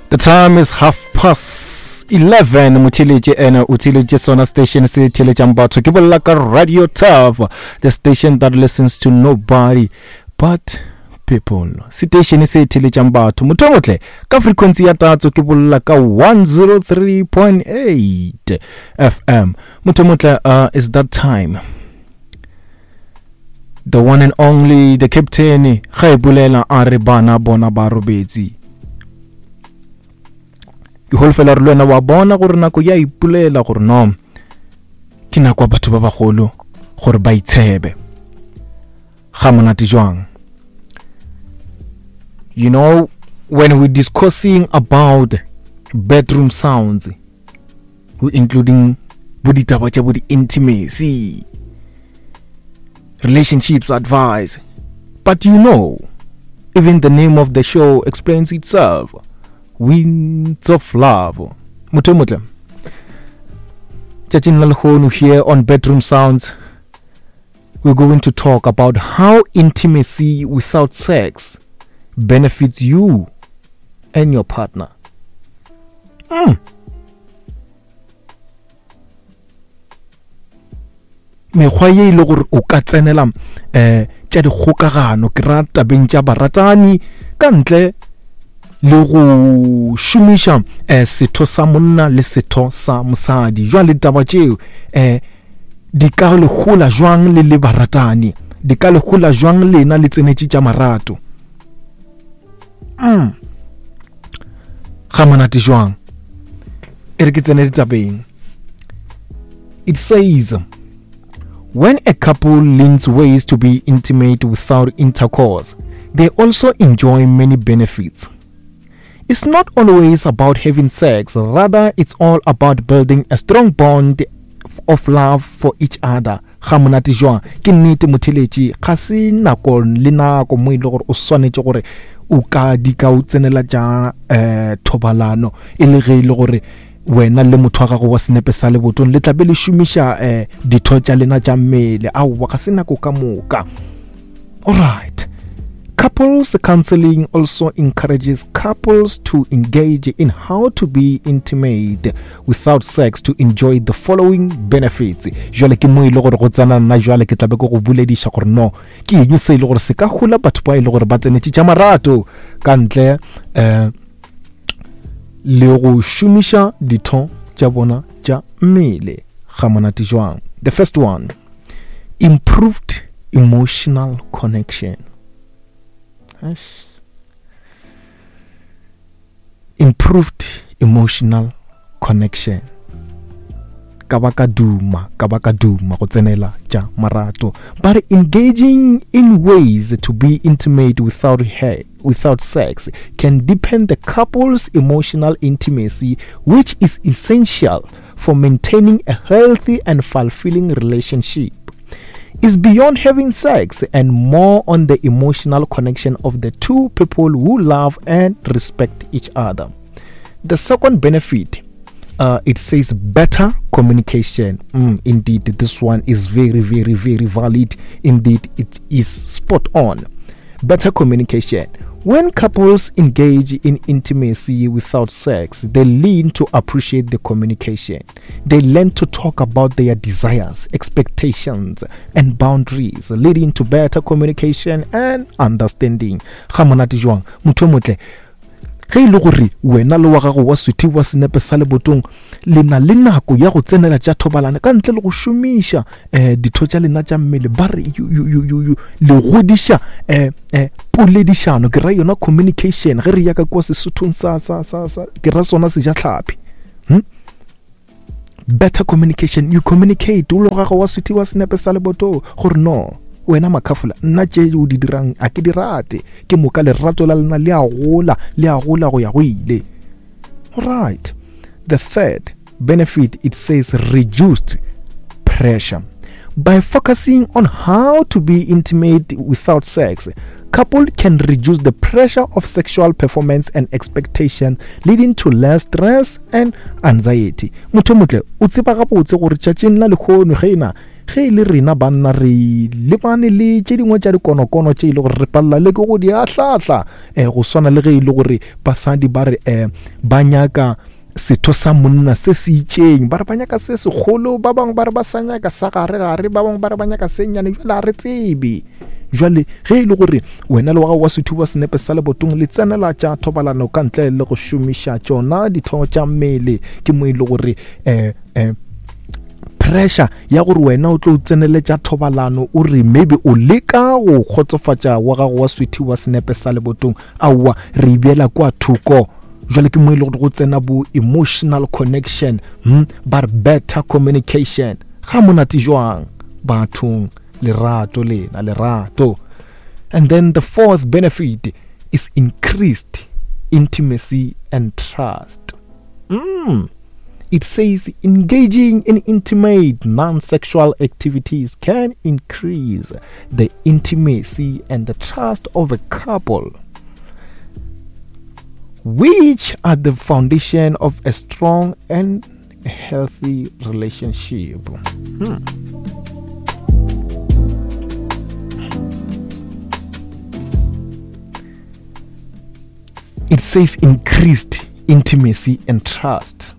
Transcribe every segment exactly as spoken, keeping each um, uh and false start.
The time is half past eleven. Motheletše ene o theletše sona station se theletšang batho. Ke bolela ka Radio Turf, the station that listens to nobody but people. Station se theletšang batho. Motho o motle ka frequency ya tatso, ke bolela ka one oh three point eight F M. Motho o motle, uh, is that time. The one and only, the captain, ga e bolela a re bana bona ba robetse. Ke holofela re le wena wa bona gore nako ya ipolela gore no ke nako ya batho ba bagolo gore ba itshebe. Ga monate jwang? You know, when we're discussing about bedroom sounds, we including bo ditaba tša bo di-intimacy, relationships advice, but you know, even the name of the show explains itself. Winds of Love. Motho motle. Tšatšing la lehono here on Bedroom Sounds, we're going to talk about how intimacy without sex benefits you and your partner. Mm. Mekgwa ye e le gore o ka tsenela, eh, tša dikgokagano, ke ra tabeng tša baratani ka ntle le go šomiša, eh, setho sa monna le setho sa mosadi. Jwale taba tšeo, eh, di ka le hola jwang le le baratani? Di ka le hola jwang lena le tsenetše tša marato? Mm. Ga monate jwang? E re ke tsene ditabeng. It says, when a couple learns ways to be intimate without intercourse, they also enjoy many benefits. It's not always about having sex, rather it's all about building a strong bond of love for each other. Ga monate jwang? Ke nnete motheletši, ga se nako le nako mo e le gore o swanetše gore o ka di ka o tsenela tša, eh, thobalano, e le ge e le gore wena le motho wa gago wa senepe sa lebotong le tla be le šomiša, eh, ditho tša lena tša mmele. Aowa, ga se nako ka moka. All right. Couples counseling also encourages couples to engage in how to be intimate without sex to enjoy the following benefits. Jwale ke mo e le gore go tsena nna, jwale ke tla be ke go bolediša gore no ke eng se e le gore se ka hola batho ba e le gore ba tsenetše tša marato ka ntle, eh, le go šomiša ditho tša bona tša mmele. Ga monate jwang? The first one, improved emotional connection. Eish. Improved emotional connection. Ka ba ka duma, ka ba ka duma go tsenela tša marato. But engaging in ways to be intimate without her, without sex can deepen the couple's emotional intimacy, which is essential for maintaining a healthy and fulfilling relationship. Is beyond having sex and more on the emotional connection of the two people who love and respect each other. The second benefit, uh, it says better communication. Mm, indeed, this one is very, very, very valid. Indeed, it is spot on. Better communication. When couples engage in intimacy without sex, they learn to appreciate the communication. They learn to talk about their desires, expectations, and boundaries, leading to better communication and understanding. Ga monate jwang? Motho o motle, ge e le gore wena le wa gago wa sweetie wa senepe sa lebotong le na le nako ya go tsenela tša thobalano ka ntle le go šomiša, eh, ditho tša lena tša mmele, ba re you, you, you, you, you, le godiša, eh, eh, poledišano, ke ra yona communication. Ge re ya ka kwa Sesothong sa, sa, sa, sa, ke ra sona sejatlhapi. Hm? Better communication, you communicate o le gago wa sweetie wa senepe sa lebotong gore no wena makhafola, nna tše o di dirang a ke di rate. Ke moka lerato la lena le a gola, le a gola go ya go ile. All right. The third benefit, it says reduced pressure. By focusing on how to be intimate without sex, couple can reduce the pressure of sexual performance and expectation, leading to less stress and anxiety. Motho motle, o tseba gabotse gore tšatšing la lehono ge ena Ge e le rena banna re lebane le tše dingwe tša dikonokono tše e le gore re palela le ke go di ahlahla, um go swana le ge e le gore basadi ba re um ba nyaka setho sa monna se se itšeng, ba re ba nyaka se segolo, ba bangwe ba re ba sa nyaka sa gare-gare, ba bangwe ba re ba nyaka se nnyane. Jwale a re tsebe. Jwale ge e le gore wena le wa gago wa sethuba wa senepe sa lebotong le tsenela tša thobalano ka ntle le go šomiša tšona ditho tša mmele, ke mo e le gore um um pressure ya gore wena o tlo tseneletša thobalano o re maybe o leka go kgotsofatša wa gago wa sweetie wa senepe sa lebotong, aowa re e beela kwa thoko. Jwale ke mo e le gore go tsena bo emotional connection, hmm? Ba re better communication. Ga monate jwang bathong, lerato lena, lerato. And then the fourth benefit is increased intimacy and trust. Mm. It says engaging in intimate non-sexual activities can increase the intimacy and the trust of a couple, which are the foundation of a strong and healthy relationship. Hmm. It says increased intimacy and trust.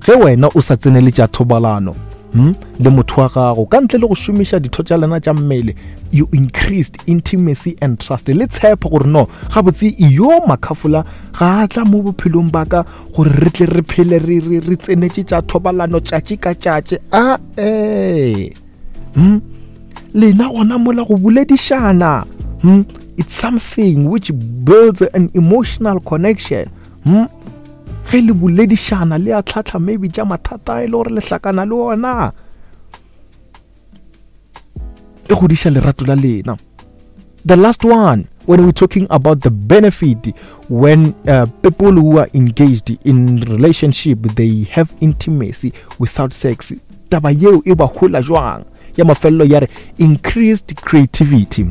Ge wena o sa tsenele tša thobalano, hmm, le motho wa gago ka ntle le go šomiša ditho tša lena tša mmele, you increased intimacy and trust. Le tshepo gore no gabotse yo makhafola ga a tla mo bophelong ba ka gore re tle re phele re re re tsenetše tša thobalano tšatši ka tšatši. A eh hmm, lena gona mola go boledišana, hmm, it's something which builds an emotional connection. Hmm? Ge le boledišana le a tlhatlha maybe tša mathata e le gore le hlakana le ona, e godiša lerato la lena. The last one, when we're talking about the benefit when uh, people who are engaged in relationship, they have intimacy without sex, taba yeo e ba hola jwang? Ya mafelelo ya re increased creativity.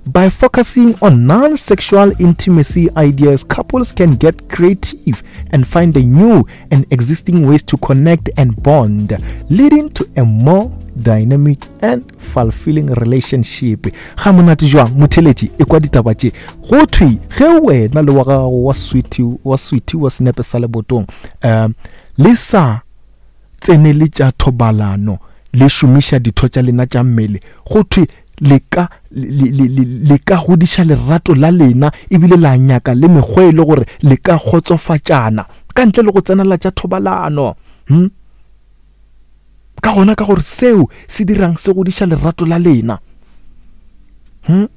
By focusing on non-sexual intimacy ideas, couples can get creative and find the new and existing ways to connect and bond, leading to a more dynamic and fulfilling relationship. Ga monate jwang motheletši e kwa ditaba tše go thwe ge wena le wa gago wa sweetie wa sweetie wa senepe sa lebotong um le sa tsenele tša thobalano le šomiša ditho tša lena tša mmele, go thwe le ka le ka godiša lerato la lena ebile la nyaka le mekgwa e le gore le ka kgotsofatšana ka ntle le go tsenela tša thobalano. Hmm? Ka gona ka gore seo se dirang se godiša lerato la lena. Hmm?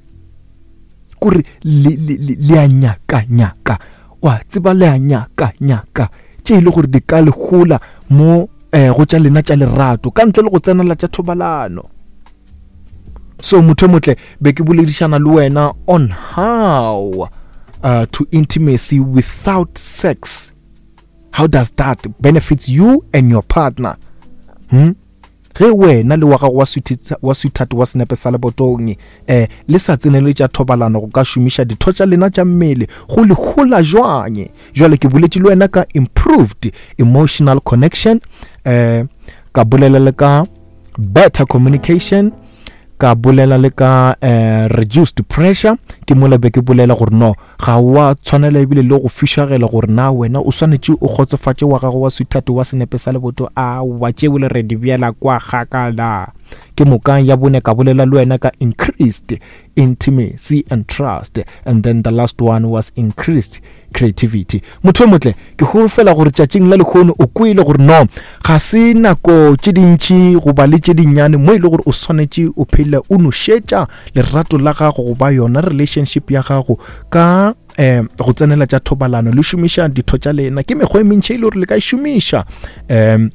Kore le le le a nyaka nyaka, wa tseba le a nyaka nyaka tše e le gore di ka le gola mo eh go tša lena tša lerato ka ntle le go tsenela tša thobalano. So motho motle be ke boledišana le wena on how uh, to intimacy without sex, how does that benefits you and your partner? Hmm? Ge wena le wa gago wa sweetie wa sweetheart wa senepe sa lebotong eh le sa tsenele tša thobalano go ka šomiša ditho tša lena tša mmele go le hola jwang? Jwale ke boletše le wena ka improved emotional connection, eh ka bolela le ka better communication, ka bolela le ka eh, reduced pressure. Ke mola be ke bolela gore no ga wa tshwanela ebile le go fišagela gore na wena o swanetše o kgotsofatše wa gago wa sweetheart wa senepe sa leboto, a wa tšeo le re di bjela kwa kgakala. Ke moka ya bone ka bolela le wena ka increased intimacy and trust, and then the last one was increased creativity. Motho motle ke holofela gore tšatšing la lehono o kwele gore no ga se nako tše dintši goba le tše dinnyane mo e le gore o swanetše o phele o nošetša lerato la gago goba yona relationship ya gago ka eh go tsenela tša thobalano le šomiša ditho tša lena. Ke mekgwa e mentši e le gore le ka e šomiša, um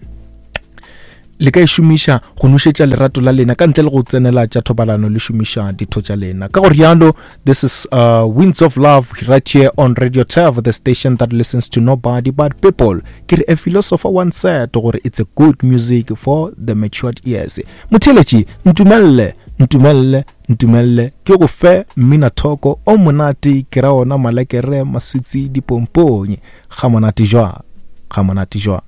le ka e šomiša go nošetša lerato la lena ka ntle le go tsenela tša thobalano le šomiša ditho tša lena. Ka gore yalo, this is uh, Winds of Love right here on Radio Turf, the station that listens to nobody but people. Ke re a philosopher once said gore it's a good music for the matured ears. Motheletši, ntumelle, ntumelle, ntumelle ke go fe mmina thoko o monate, ke ra ona malekere maswitsi dipomponye. Ga monate jwa, ga monate jwa.